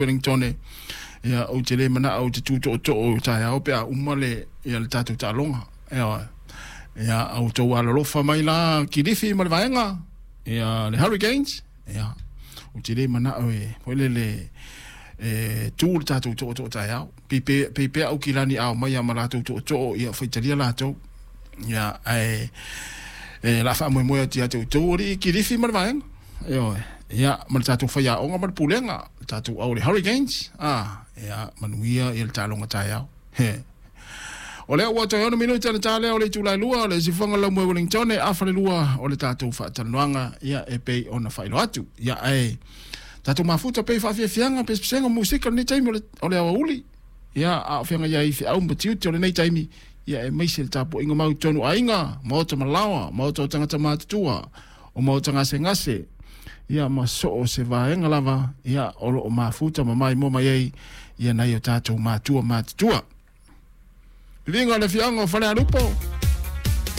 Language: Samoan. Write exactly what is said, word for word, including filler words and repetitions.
Wellington. Ia, ou te le manao ou te tu tootoo i taeao pe a uma le ia le tatou taaloga. Ioe. Ia, a outou alolofa mai la Kilifi ma le vaega, ia le Hurricanes, ia, ou te le manao e foi lele e tu le tatou tootoo taeao. Pei pei pea Aukilani a omai ma latou tootoo, ia faitalia latou. Ia, ae e la faamoemoe atu ia te outou alii Kilifi ma le vaega. Ioe. Ia, ma le tatou faiaoga ma le pulega, le tatou au le Hurricanes. Ah, ia, manuia ia le taaloga taeao. He. O lea ua toe ono minute le ta lea o le itula e lua o le sifuaga lau moe Wellington afa le lua o le tatou faatalanoaga, ia e pei ona faailoa atu. Ia, ae tatou mafuta pei faafiafiaga pesepesega musika lenei taimi o le, o le aoauli. Ia, a o feagai ai feau ma tiute o lenei taimi, ia e maise le tapuaiga mau tonu aiga, maota malaoa, maota o tagata matutua, o maota gasegase, ia ma so o se vaega lava, ia o loo mafuta ma maimoa mai ai ia nai o tatou matua matutua. Viviga le afioaga o Falealupo.